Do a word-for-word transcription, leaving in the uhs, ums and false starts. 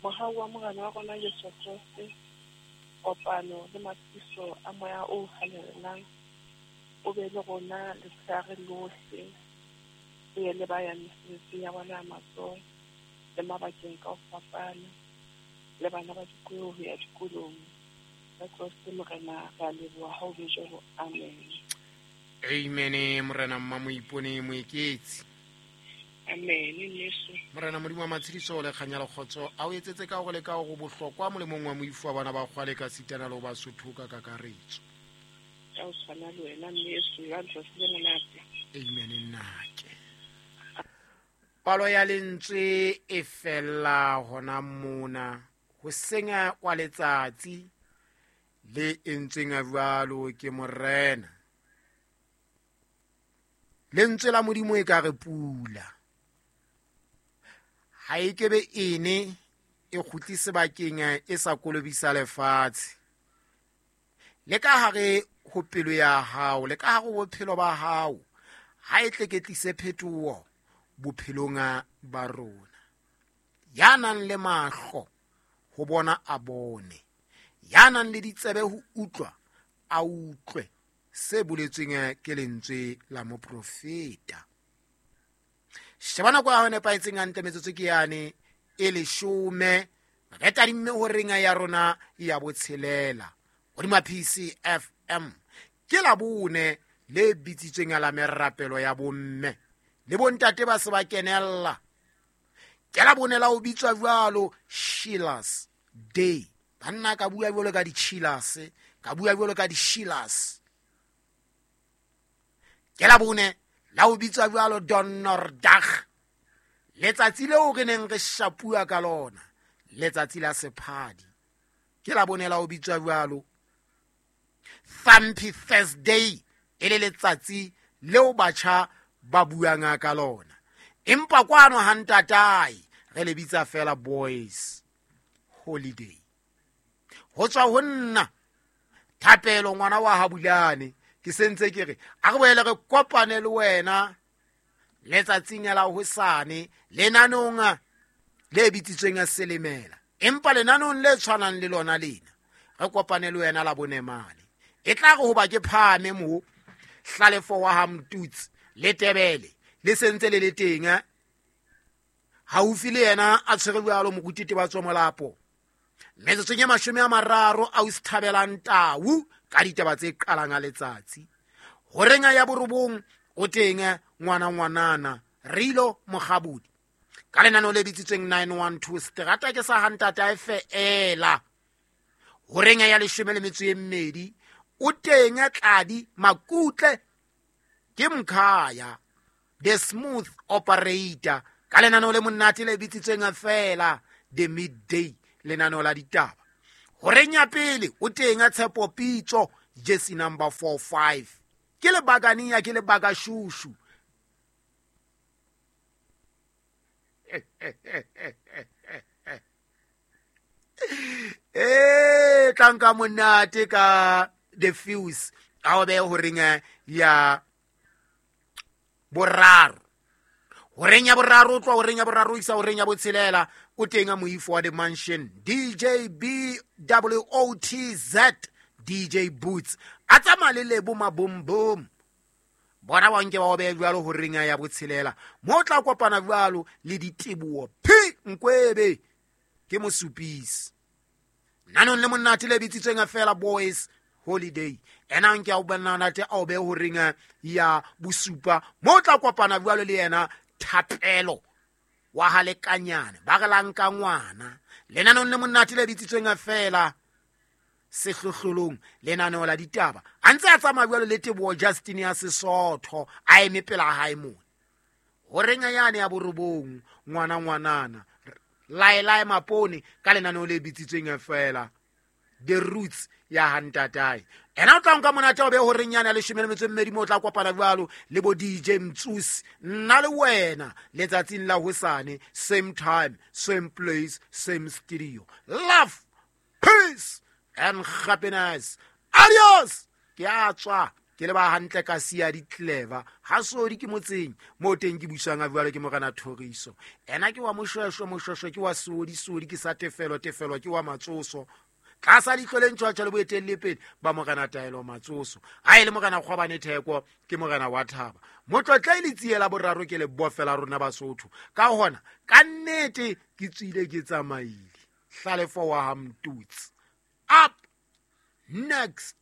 Mohau wa Morena wa rona Jesu Kreste, kopano le matshediso a moya o halalelang o be le rona letshehare lohle, o ye le ba yang mesebetsing ya bona ya matsoho le mabakeng ka ho fapana, le bana ba dikolo ho ya dikolong. Ka Kreste Morena re a leboha, ha o be jwalo. Amen. Amen. Morena Mmamoipone Moeketsi. Amen. Nneso. Morena Modimo wa matshediso le kganya le kgotso a o etsetse ka hore le ka hore bohlokwa molemong wa moifo wa bana ba kgwale ka sitana le ho ba Sotho ka kakaretso. Ka ho tshwana le wena nneso, ya letsatsi le monate. Amen nnake. Palo ya lentswe e fella hona mona ho senya wa letsatsi le entsweng jwalo ke Morena. Lentswe la Modimo e ka re pula ha e kebe ene e kgutlise bakeng e sa kolobisa lefatshe. Le ka hare ho pelo ya hao, le ka hare ho bophelo ba hao, ha e tle ke tlise phetoho bophelong ba rona. Ya nang le mahlo ho bona a bone, ya nang le ditsebe ho utlwa a utlwe se boletsweng ke lentswe la moprofeta. Sheba nako ya hao e nepahetseng hantle, metsotso ke yane e leshome. Re tadimme horeng ya rona ya botshelela hodima P C F M. Ke Labone le bitsitsweng la merapelo ya bomme le bontate ba se ba kenella. Ke Labone la ho bitswa jwalo Sheila's Day. Banna ka bua jwalo ka di-Sheilas, ka bua jwalo ka di-Sheilas. Ke Labone la ho bitswa jwalo Donnerdag, letsatsi leo re neng re shapuwa ka lona, letsatsi la sephadi. Ke Labone la ho bitswa jwalo Thumpy Thursday, e le letsatsi leo batjha ba buang ka lona. Empa kwano ha ntatae re le bitsa fela Boys Holiday. Ho tswa ho nna Thapelo ngwana wa Habulane, ke sentse ke re a re boele re kopane le wena letsatsing la hosane lenaneong le bitsitsweng Selemela, empa lenaneong le tshwanang le lona lena re kopane le wena la bonemane. E tla re hoba ke phahame mo Hlalefo wa ha Mtutsi le Tebele le sentse le le teng haufi le yena a tshwere jwalo moruti ba tswa molapo. Metsotsong e mashome a mararo a o thabelang tau ka ditaba tse qalang a letsatsi. Horeng ya borobong o teng ngwana ngwanana Rilo Mokgabudi ka lenaneo le bitsitsweng nine one two seterata ke sa hantata e feela. Horeng ya leshome le metso e mmedi o teng Tladi Makutle ke Mkhaya the smooth operator ka lenaneo le monate le bitsitsweng feela the midday lenaneo la ditaba. Horeng ya pele o teng Tshepo Pitso jersey number four five ke lebakania ke lebaka shushu. Eh tlanka monate ka the fuse a o be horeng ya boraro. Horeng ya boraro o tloha horeng ya boraro isa horeng ya botshelela o teng a moifo wa the mansion D J B W O T Z D J Boots a tsamaya le Lebo Mabombom. Bona ba nke ba o behe jwalo horeng ya botshelela mo tla kopana jwalo le Diteboho P Nkwebe ke mosupisi. Nanong le monate le bitsitsweng fela Boys Holiday ena nke a o bonate a o behe horeng ya bosupa mo tla kopana jwalo le yena Thapelo wa Halekanyane ba re lang ka ngwana. Lenanong le monate le bitsitsweng fela Sehlohlolong lenaneo la ditaba a ntse a tsamaya jwalo le Teboho Justin ya Sesotho a eme pela hae mona. Horeng yane ya borobong ngwana ngwanana Laelae Mapone ka lenaneo le bitsitsweng fela The Roots ya hantatae. Ena o tla nka monate o be horeng yana ya leshome le metso e mmedi mo tla kopana jwalo le bo D J Mtsusi nna le wena letsatsing la hosane, same time, same place, same studio. Love, peace and happiness. Adios. Ke a tswa. Ke leba hantle ka sia di clever ha sodi ke motseng mo teng ke busang a jwalo ke Morena Thoriso. Ena ke wa Moshweshwe, Moshweshwe ke wa Sodi, Sodi ke sa Tefelo, Tefelo ke wa Matsoso. Tlasa leihlo le ntjhotjho le boetelli pele ba Morena Taelo Matsoso. Ha e le Morena Kgwabane Theko ke Morena wa Thaba. Motlotla e le tsiela boraro ke le bofela rona Basotho. Ka hona ka nnete ke tswile ke tsamaile. Hlalefo wa ha Mtutsi. Up next.